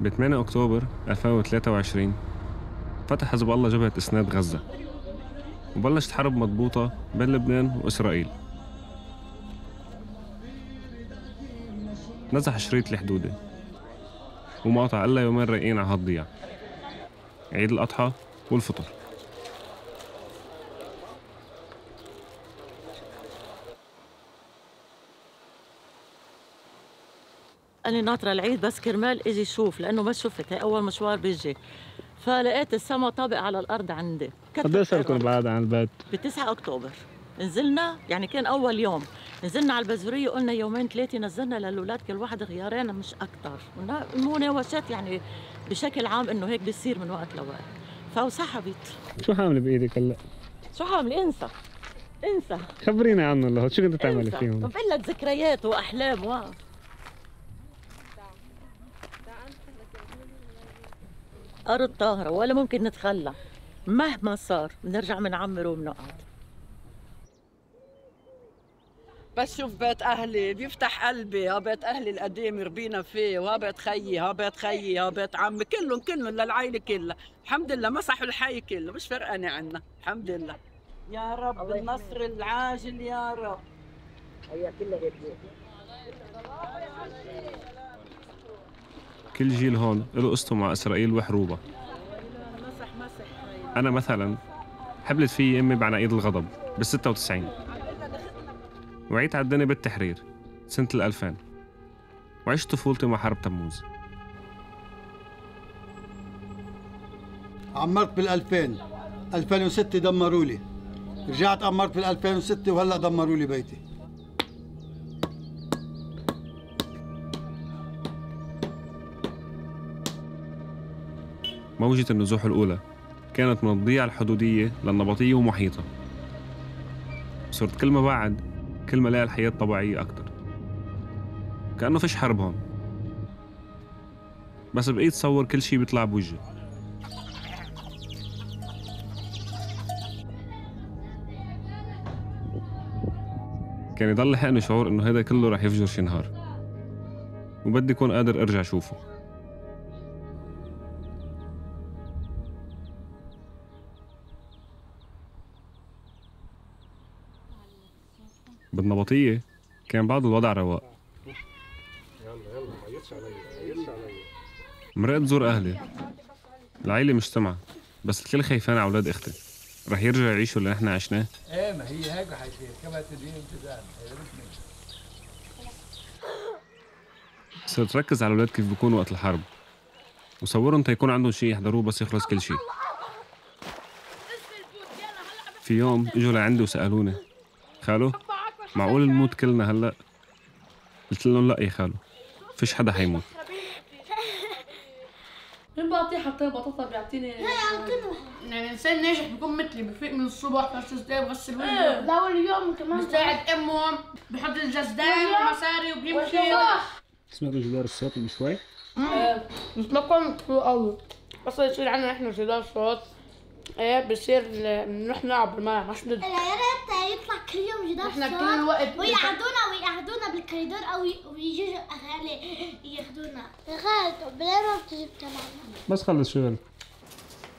ب 8 أكتوبر 2023 فتح حزب الله جبهة إسناد غزة وبلشت حرب مضبوطة بين لبنان وإسرائيل. نزح شريط الحدودة وما قطع إلا يومين رايقين على هالضياع، عيد الأضحى والفطر. أنا ناطرة العيد بس كرمال إجي شوف، لأنه ما شفت، هي أول مشوار بيجي، فلقيت السما طابق على الأرض عندي. قد إيه صار لكم بعاد عن البيت؟ ب 9 أكتوبر نزلنا، يعني كان أول يوم نزلنا على البزورية، قلنا يومين ثلاثة نزلنا للأولاد كل واحد غيارين مش أكتر، مناوشات يعني بشكل عام إنه هيك بيصير من وقت لوقت، فوسحبت. شو حاملة بإيدك هلا؟ شو حاملة؟ انسى خبرينا عنه الله، شو كنت تعملي فيهم؟ بقول لك ذكريات وأحلام أرض طاهرة ولا ممكن نتخلى، مهما صار بنرجع بنعمر وبنقعد. بس شوف بيت أهلي بيفتح قلبي، ها بيت أهلي القديم ربينا فيه، وها بيت خيي، ها بيت خيي، ها بيت عمي، كلهم للعائلة كلها، الحمد لله مسحوا الحي كله، مش فرقانة عنا، الحمد لله. يا رب النصر العاجل يا رب. هي كلها هيك. كل جيل هون له قصته مع إسرائيل وحروبها. أنا مثلاً حبلت في أمي بعناقيد الغضب بال96 وعيت على الدنيا بالتحرير سنة 2000 وعشت طفولتي مع حرب تموز. عمرت بال2000 2006 دمروا لي، رجعت عمرت بال2006 وهلا دمروا لي بيتي. موجة النزوح الأولى كانت من الضيعة الحدودية للنبطية ومحيطها. صرت كل ما بعد كل ما لاقي الحياة طبيعية أكتر، كأنه فيش حرب هون، بس بقيت تصور كل شي بيطلع بوجهي. كان يضل لحقني شعور إنه هيدا كله رح يفجر شي نهار وبدي أكون قادر أرجع أشوفه. بالنبطية كان بعض الوضع رواق. مرقت زور أهلي، العيلة مجتمعة بس الكل خايفان على أولاد أختي، رح يرجعوا يعيشوا اللي نحن عشناه. إيه ما هي هيك حيصير، كما تدين امتداد. صرت ركز على الأولاد كيف بيكونوا وقت الحرب وصورهم تيكون عندهم شيء يحضروه بس يخلص كل شيء. في يوم اجوا لعندي وسألوني خالو معقول نموت كلنا هلا؟ قلت لهم لا يا خالو، فيش حدا حيموت. مين بعطيه حتى بطاطا بيعطيني؟ يعني الانسان ناجح بيكون مثلي، بفيق من الصبح بس بغسل وجهه لا واليوم كمان بيساعد امه، بحط الجزدان ومصاري وبيمشي. سمعتوا جدار الصوت من شوي؟ بس ما كان كثير قوي، بس يصير عندنا احنا جدار صوت ايه بصير نروح نلعب بالملعب مش ندري. يا ريت يطلع كل يوم جدار احنا كل الوقت ويقعدونا بالكوريدور او ويجوا اهالي ياخذونا. يا خالد بلا ما بتجيب تبعنا. بس خلص شغل.